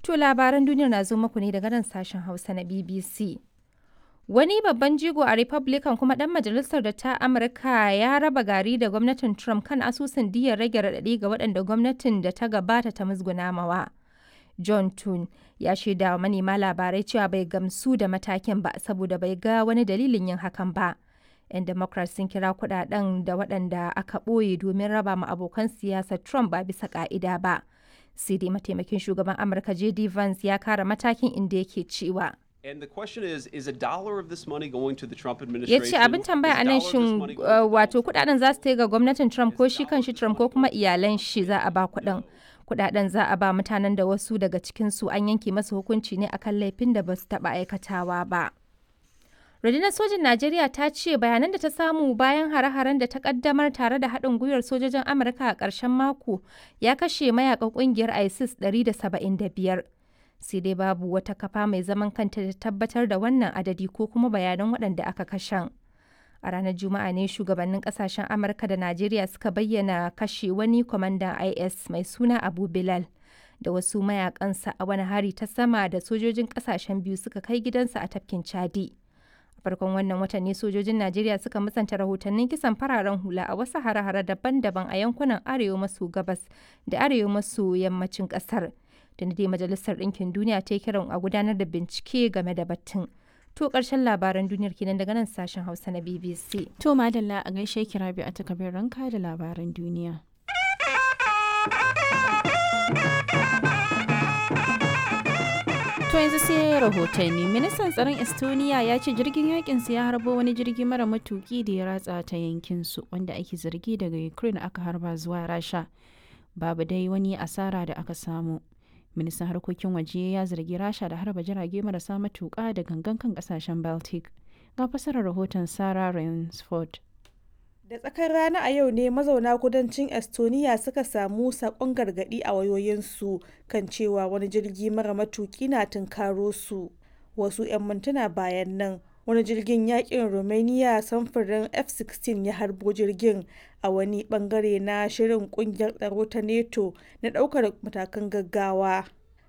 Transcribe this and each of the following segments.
To labaran duniyar na zo muku ne daga nan sashen Hausa na BBC. Wani babban jigo a Republican kuma ɗan majalisar da ta Amurka ya raba gari da gwamnatin Trump kan asusun diyyar rage raɗaɗi ga waɗanda gwamnatin da ta gabata ta musguna mawa. John Thune ya shaida wa manema labarai cewa bai gamsu da matakin ba saboda bai ga wani dalilin yin hakan ba. 'Yan Democrats sun kira kudaden da waɗanda aka ɓoye domin raba ma abokan siyasar Trump ba bisa ƙa'ida ba. Sai dai mataimakin shugaban Amurka JD Vance ya kara matakin inda yake cewa. And the question is a dollar of this money going to the Trump Ya administration? ce abin tambaya a nan shin wato kudaden za su tai ga gwamnatin Trump ko shi kan shi Trump ko kuma iyalan shi za a ba kudin. Kudaden za a ba mutanen da wasu daga cikinsu an yanke masu hukunci ne akan laifin da ba su taba aikatawa ba. Rundunar sojin Najeriya ta ce bayanan da ta samu bayan hare-haren da ta kaddamar tare da haɗin gwiwar sojojin Amurka a ƙarshen mako ya kashe mayakan ƙungiyar ISIS 175. Sai dai babu wata kafa mai zaman kanta da tabbatar da wannan adadi ko kuma bayanan waɗanda aka kashen. A ranar Juma'a ne shugabannin kasashen Amurka da Najeriya suka bayyana kashe wani kwamandan IS mai suna Abu Bilal da wasu mayakansa a wani hari ta sama da sojojin kasashen biyu suka kai gidansa a tafkin Chadi. A farkon wannan watan ne sojojin Najeriya suka musanta rahotannin kisan fararen hula a wasu hare-hare daban-daban a yankunan arewa maso gabas da arewa maso yammacin kasar. Da dai Majalisar Ɗinkin Duniya ta yi kiran a gudanar da bincike game da batun. To ƙarshen labaran duniyar kenan daga nan sashen Hausa na BBC. To madalla a gaishe ki Rabi a takabir ranka da labaran duniya. To yanzu sai rahotanni. Ministan tsaron Estonia ya ce jirgin yakin su ya harbo wani jirgi mara matuki da ya ratsa ta yankin su wanda ake zargi daga Ukraine aka harba zuwa Rasha. Babu dai wani asara da aka samu. Ministan harkokin waje ya zargi Rasha da harba jirage marasa matuƙa da gangan kan kasashen Baltic. Ga fasarar rahoton Sarah Rainsford. Da tsakar rana a yau ne mazauna kudancin Estonia suka samu sakon gargadi a wayoyinsu kan cewa wani jirgi mara matuki na tunkaro su. Wasu 'yan mintuna bayan nan, wani jirgin yakin Romania samfurin F-16 ya harbo jirgin a wani bangare na shirin kungiyar tsaro ta NATO na daukar matakan gaggawa.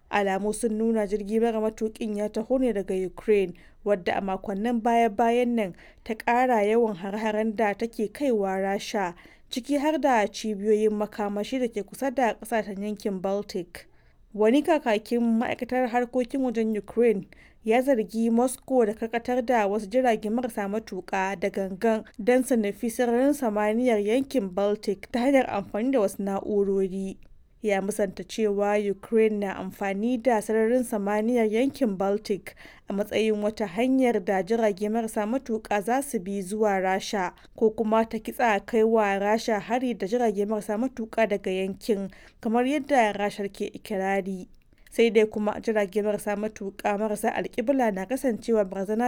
Alamu sun nuna jirgi mara matukin ya taho ne daga Ukraine, wadda a makonnin baya-bayan nan ta ƙara yawan har-haren da take kaiwa Rasha, ciki har da cibiyoyin makamashi da ke kusa da ƙasashen yankin Baltic. Wani kakakin ma'aikatar harkokin wajen Ukraine ya zargi Moscow da karkatar da wasu jirage marasa matuƙa da gangan don su nufi sararin samaniyar yankin Baltic ta hanyar amfani da wasu na'urori. Ya musanta cewa Ukraine na amfani da sararin samaniyar yankin Baltic a matsayin wata hanyar da jirage marasa matuƙa za su bi zuwa Rasha ko kuma ta kitsa kai wa Rasha hari da jirage marasa matuƙa daga yankin kamar yadda Rashar ke ikirari. Sai dai kuma jirage marasa matuƙa marasa alƙibla na kasancewa barazana